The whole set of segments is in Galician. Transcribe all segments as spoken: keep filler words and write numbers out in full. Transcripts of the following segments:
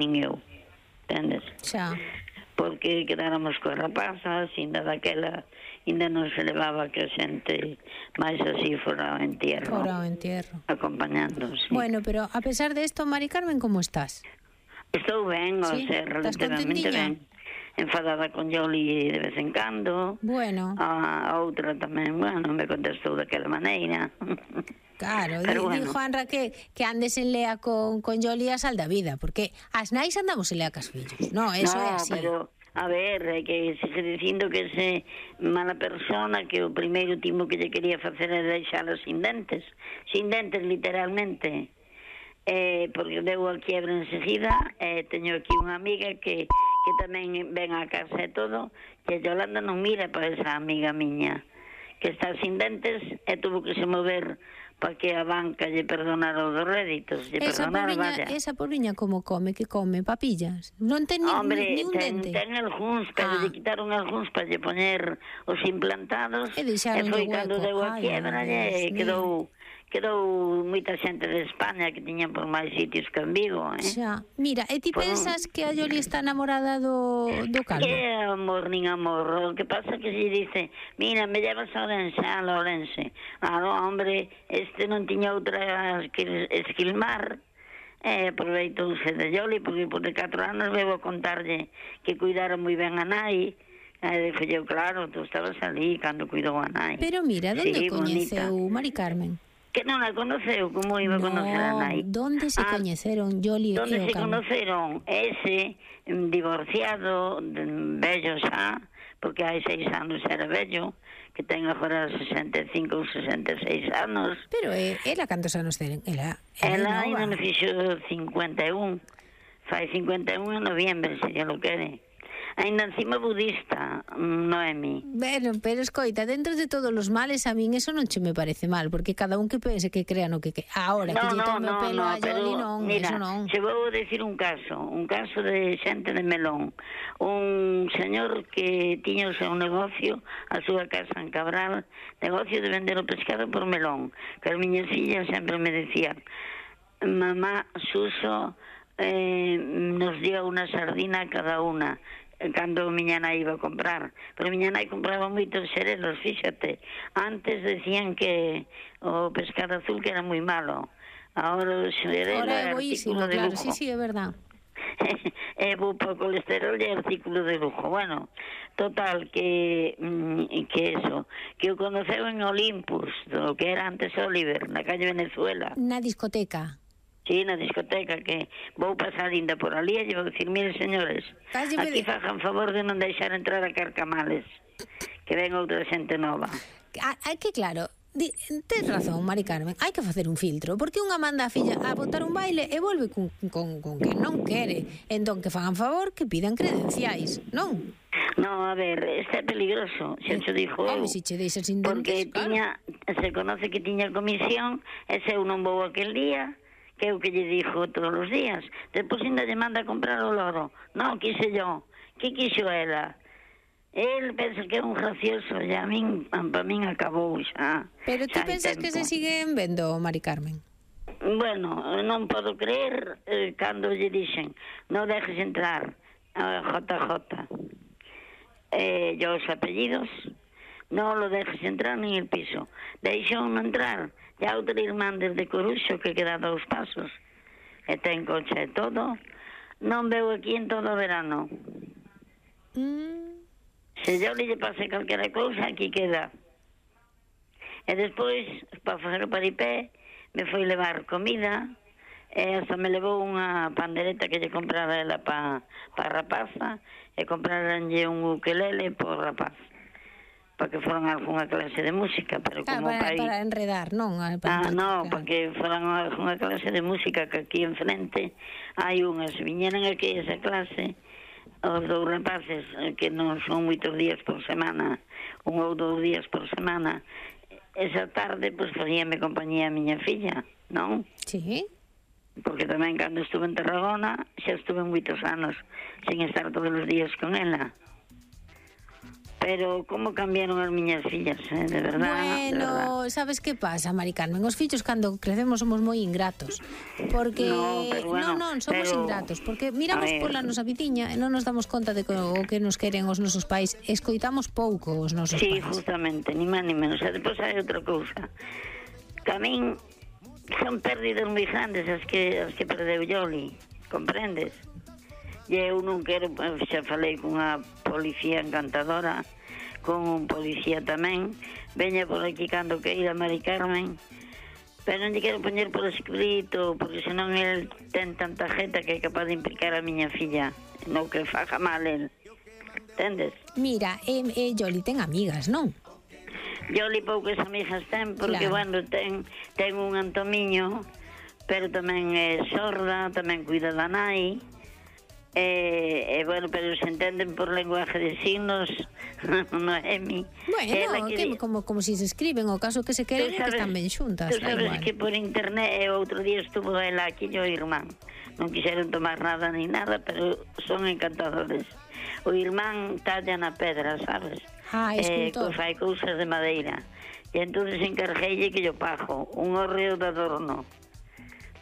nin eu, entendes? Xa. Porque quedáramos coa rapaza, ainda daquela, ainda non se levaba que a xente máis así fora ao entierro. Fora ao entierro. Acompañando, sí. Bueno, pero a pesar de esto, Mari Carmen, como estás? Estou ben, Sí? o sea, Estás relativamente contentiña? ben. Enfadada con Yoli de vez en cando. Bueno. A outra tamén, bueno, me contestou daquela maneira. Claro, Pero di, bueno. dijo Anra que, que andes en lea con, con Yoli a sal da vida, porque as nais andamos en lea cas fillos, no, eso no, é así. Pero, a ver, é que sigue dicindo que ese mala persona que o primeiro timo que lle quería facer era deixala sin dentes, sin dentes literalmente, eh, porque deu a quiebra enseguida, eh, teño aquí unha amiga que, que tamén ven a casa e todo, que Yolanda non mira para esa amiga miña, que está sin dentes e tuvo que se mover para que a banca lle perdonara os réditos, lle Esa perdonara, pobriña, vaya. esa pobriña como come, que come, papillas. Non ten ni, Hombre, ni un ten, dente. ten algúns, pero Ah. lle quitaron algúns para lle poñer os implantados E e deixaron foi hueco. cando deu a Ai, quiebra Dios e mío. quedou quedou moita xente de España que tiñan por máis sitios que en Vigo, eh? Xa. Mira, e ti Por un- pensas que a Yoli está enamorada do, do calvo? Que amor, nin amor. O que pasa que se dice, mira, me llevas a Ourense, a Ourense. Ah, no, hombre, este non tiña outra que esquilmar. E aproveitouse de Yoli, porque por de catro anos veo a contarlle que cuidara moi ben a nai. E dixo eu, claro, tú estabas ali cando cuidou a nai. Pero mira, donde Sí, coñeceu bonita. Mari Carmen? Que non a conoceu, como iba a conocer a nai? donde se Ah, coñeceron Yoli e Donde o se calvo? conoceron ese mm, divorciado, mm, vello xa, porque hai seis anos era vello, que ten agora sesenta e cinco ou sesenta e seis anos. Pero eh, ela cantos anos ten? Ela, ela, Ela é ainda nova. me fixo cincuenta e un. Fai cincuenta e un en noviembre, se ya lo quere. Ainda encima budista, Noemi. Bueno, pero escoita, dentro de todos os males a min eso non che me parece mal, porque cada un que pense que crea no que que ahora que lle tome o pelo a Yoli non, mira, eso non. se vou decir un caso, un caso de xente de Melón, un señor que tiña o seu negocio, a súa casa en Cabral, negocio de vender o pescado por Melón, que as miñas fillas sempre me decían, mamá, Suso eh, nos dio unha sardina a cada unha, cando miña nai iba a comprar, pero miña nai compraba moitos xerelos, fíxate. Antes decían que o pescado azul que era moi malo, ahora o xerelo Ahora é é boísimo, artículo de claro, lujo. sí, sí, é verdad. É bo para o colesterol e artículo de lujo. Bueno, total, que mm, que eso, que o conoceu en Olympus, do que era antes Oliver, na calle Venezuela. Na discoteca. Sí, na discoteca, que vou pasar ainda por ali e vou dicir, mire, señores, Calle aquí Vene- fajan favor de non deixar entrar a Carcamales, que ven outra xente nova. Ah, é que claro, di, tes razón, Mari Carmen, hai que facer un filtro, porque unha manda a filla a botar un baile e volve con, con, con que non quere. Entón que fagan favor, que pidan credenciais, non? No, a ver, este é peligroso, xa te dixo eu. Home, se che deixas sin Porque dentes, claro. tiña, se conoce que tiña comisión, e se eu non vou aquel día, que é o que lle dixo todos os días. Depois ainda lle manda a comprar o loro. Non, quise yo. Que quixo ela? El pensa que é un gracioso, e a min, para min acabou xa. Pero ti xa hai pensas que tempo. se siguen vendo, Mari Carmen? Bueno, non podo creer eh, cando lle dixen non dejes entrar a J J eh, e os apellidos, non lo dejes entrar nin el piso. Deixou non entrar. E a outra irmán desde Coruxo que queda dous pasos e ten coche e todo, non veu aquí en todo o verano. Mm. Se yo lle pase calquera cousa, aquí queda. E despois, para facer o paripé, me foi levar comida, e hasta me levou unha pandereta que lle comprara ela para pa a rapaza, e compraranlle un ukelele por rapaz, para que foran algunha clase de música, pero Claro, como para, pai... para enredar, non? Ah, Para, no, claro. para que foran algunha clase de música, que aquí enfrente hai unhas, viñeran aquí esa clase, os dous rapaces, eh, que non son moitos días por semana, un ou dous días por semana, esa tarde, pois, facíame compañía a miña filla, non? Sí. Porque tamén cando estuve en Tarragona, xa estuve moitos anos, sen estar todos os días con ela. Pero como cambiaron as miñas fillas, eh? de verdad. Bueno, de verdad. sabes que pasa, Mari Carmen? Os fillos cando crecemos somos moi ingratos. Porque no, pero bueno, non, non, somos pero... ingratos, porque miramos pola nosa viciña e non nos damos conta de que, o que nos queren os nosos pais, escoitamos pouco os nosos sí, pais. Sí, justamente, ni máis ni menos. E depois hai outra cousa. Que a min son pérdidas moi grandes as que, as que perdeu Yoli, comprendes? E eu non quero, xa falei cunha policía encantadora, con un policía tamén, veña por aquí cando queira, Mari Carmen, pero non lle quero poñer por escrito, porque senón el ten tanta jeta que é capaz de implicar a miña filla, no que faja mal el, entendes? Mira, eh, eh, Yoli ten amigas, non? Yoli poucas amigas ten, porque, claro. bueno, ten, ten un antomiño, pero tamén é sorda, tamén cuida da nai, E, e bueno, pero se entenden por lenguaje de signos, non é mi. Bueno, que, que, como, como si se escriben, o caso que se queren que están ben xuntas. Tú sabes que por internet, outro día estuvo ela aquí o irmán. Non quixeron tomar nada ni nada, pero son encantadores. O irmán talla na pedra, sabes? Ah, escultor. Eh, fai cousas de madeira. E entonces encargueille que yo pago un horreo de adorno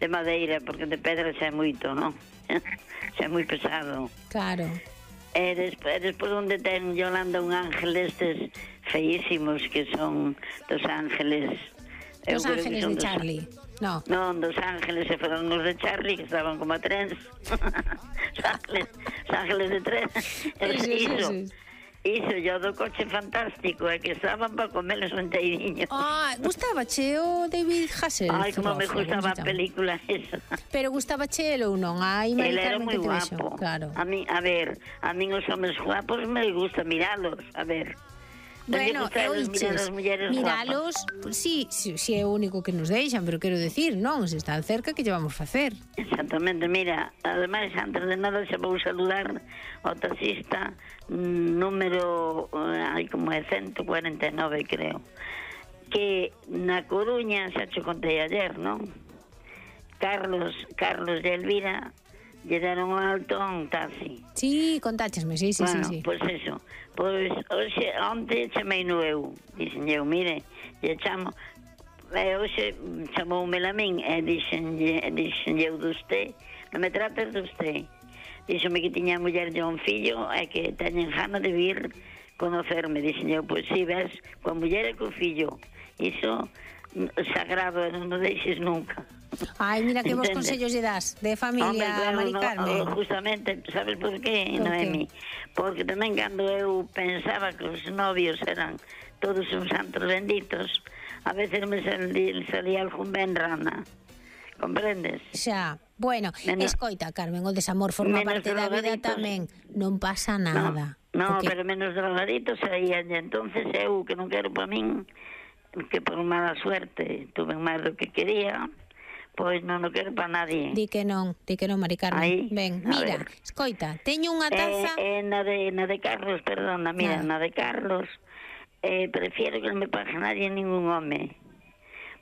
de madeira, porque de pedra xa é moito, non? Xa é moi pesado. Claro. E despois, despois onde ten Yolanda un ángel destes feísimos que son dos ángeles. Dos ángeles de Charlie. No. Non, dos ángeles se foron os de Charlie, que estaban como a trens. Os ángeles, os ángeles de tren. Eso, eso, eso. Iso, yo do coche fantástico, é que estaban para comerles un teiriño. Ah, gustabache o David Hasselhoff? Ai, como me gustaba a película esa. Pero gustabache el ou non? Ai, Mari Carmen, que te vexo. Claro. A mí, a ver, a mí os homes guapos me gusta miralos, a ver. Bueno, e oiches, miralos, sí, sí, sí é o único que nos deixan, pero quero decir, non, se están cerca, que lle vamos facer? Exactamente, mira, ademais, antes de nada, xa vou saludar ao taxista número, hai como é ciento cuarenta e nove, creo, que na Coruña, xa te contei ayer, non? Carlos, Carlos e Elvira lle deron un alto a un taxi. Sí, contáchesme, sí, sí, bueno, sí, sí. Pois pues eso, pois pues, hoxe, onte chamei no eu, dixen eu, mire, lle chamo, e hoxe chamoume a min, e dixen, dixen eu de usted, non me trates de usted. Díxome que tiña a muller de un fillo e que teñen gana de vir conocerme. Dixen eu, pois si, ves, coa muller e co fillo. Iso sagrado, non o deixes nunca. Ai, mira que vos consellos lle das de familia. Hombre, claro, Mari Carmen. No, justamente, sabes por qué, por Noemi? Qué? Porque tamén cando eu pensaba que os novios eran todos uns santos benditos, a veces me salía, salía algún ben rana. Comprendes? Xa, bueno, menos, escoita, Carmen, o desamor forma parte da vida tamén. Non pasa nada. No, no, pero menos drogaditos saían, e entonces eu, que non quero para min, que por mala suerte tuve máis do que quería, pois non o quero para nadie. Di que non, di que non, Mari Carmen. Aí, ben, mira, escoita, teño unha taza... Eh, eh, na, de, na de Carlos, perdona, mira, na, na de Carlos, eh, prefiero que non me pague nadie ningún home.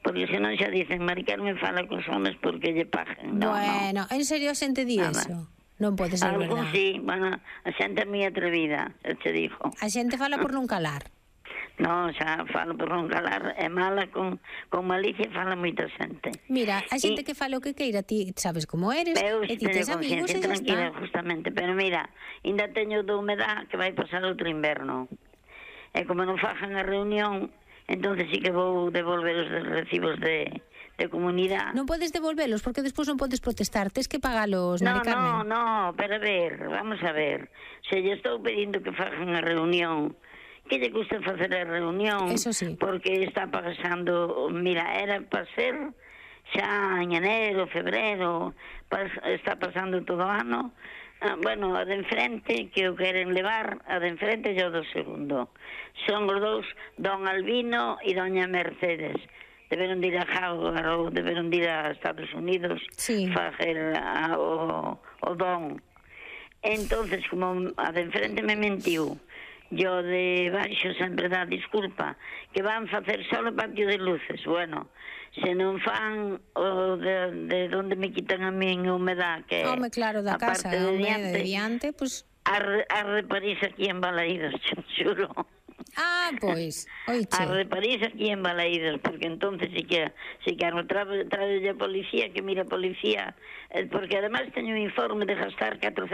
Porque senón xa dicen, Mari Carmen fala cos homes porque lle paguen. No, bueno, no. En serio a xente di eso? Non pode ser verdad. Algún sí, bueno, a xente é moi atrevida, eu te digo. A xente fala por non calar. No, xa falo por non calar, é mala con, con malicia, fala moita xente. Mira, a xente y, que fala o que queira, ti sabes como eres, e ti tes amigos e xa está. Justamente, pero mira, ainda teño de humedad que vai pasar outro inverno. E como non fajan a reunión, entonces sí que vou devolver os recibos de, de comunidade. Non podes devolvelos porque despois non podes protestar, tes que pagalos, no, Mari Carmen. No, no, pero a ver, vamos a ver. Se lle estou pedindo que fajan a reunión, que lle gusta facer a reunión, eso sí, porque está pasando, mira, era para ser xa en enero, febrero, pas, está pasando todo o ano. Ah, bueno, a de enfrente, que o queren levar, a de enfrente e o do segundo. Son os dous, don Albino e doña Mercedes. Deberon de ir a Harvard ou deberon de ir a Estados Unidos, sí, facer a, o, o don. Entonces, como a de enfrente me mentiu, yo de baixo sempre dá disculpa, que van facer só o patio de luces. Bueno, se non fan o de, de donde me quitan a min a humedad, que home, claro, da a casa, parte de home, diante, de diante, pues... Arre París aquí en Balaídos, xuro. Ah, pois, oiche. Arre París aquí en Balaídos, porque entonces sí que, sí que no trae a policía, que mira a policía, porque además teño un informe de gastar catrocentos